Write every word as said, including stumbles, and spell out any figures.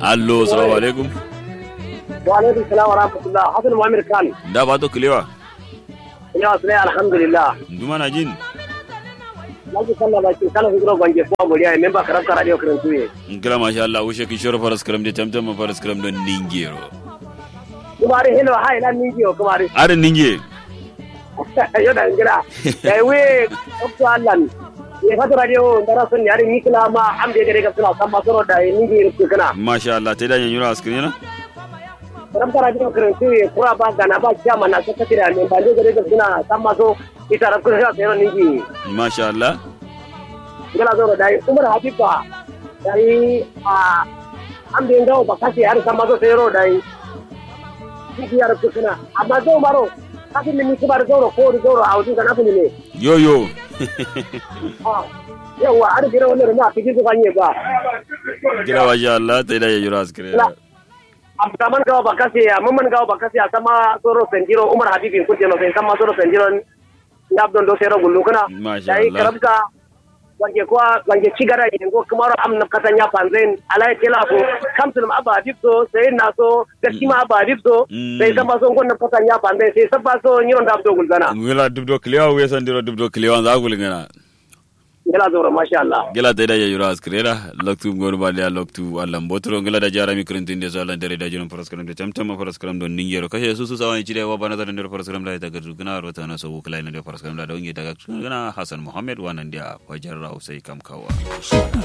Allo, salamu alaikum. Wa alaikum salam wa rahmatullah. Hassan Muhammad Khan. Nda fato kilewa? Kilewa sulai, alhamdulillah. Ndu mana jin? Laji kalla ba kin kala huduro bange ko amuriya memba karabka radio kirintu ye. Ngila masha Allah, wushe kin shoro faras kiram de tamtam ma faras kiram don ningero. Kumari hello, hai lan ningi yo kumari. Arin ningi. Yo da ngira. Da we okto allan. Ye fato radio ndara son yari nikla ma am de gare ga suna samma soro da ningi ru kana. Masha Allah, te da nyanyura askirina. Karam kara jiro kare su ye kura ba gana ba kiyama na sakati da ne ba de gare ga suna samma so ita ran kun sa sai ningi. Masha Allah. Ngala zoro dai Umar Habiba. Dai a am de ngawo ba kasi har samma so sai ro dai. Kiki yar kukuna. Amma zo maro. Kafin ni kuma zoro ko zoro a wajen kana ne. Yo yo. Yawa har gira wannan ma kiki su fanye ba. Gira masha Allah, te da nyanyura askirina. Abdurrahman gawa bakase ya, mamman gawa bakase ya, sama soro sendiro Umar Habibi kujeno sai sama soro sendiro. Ndabdo ndo sero gullu kuna. Masha Allah. Dai karabka. Wange kwa wange cigara yengo kumaro am na kata nya panzen alai tela ko. Kamsul abba dipso sai na so gaski ma abba dipso. Sai sama so ngon na kata nya panzen sai sabba so nyiro ndabdo gulzana. Ngila dubdo klewa we sandiro dubdo klewa za gulngana. Ngila zoro masha Allah. Ngila te da ya yura askirera loktu ngor ba da loktu Allah mbotoro. Ngila da jara mi kirintin de so Allah dare da jinon faras karam de tamtam faras karam don ningero kashe su su sawan cire wa bana zaran de faras karam da ta garzu gana rota na so kula ne de faras karam da don ge daga gana Hassan Muhammad wa nan da fajar rau sai kam kawa.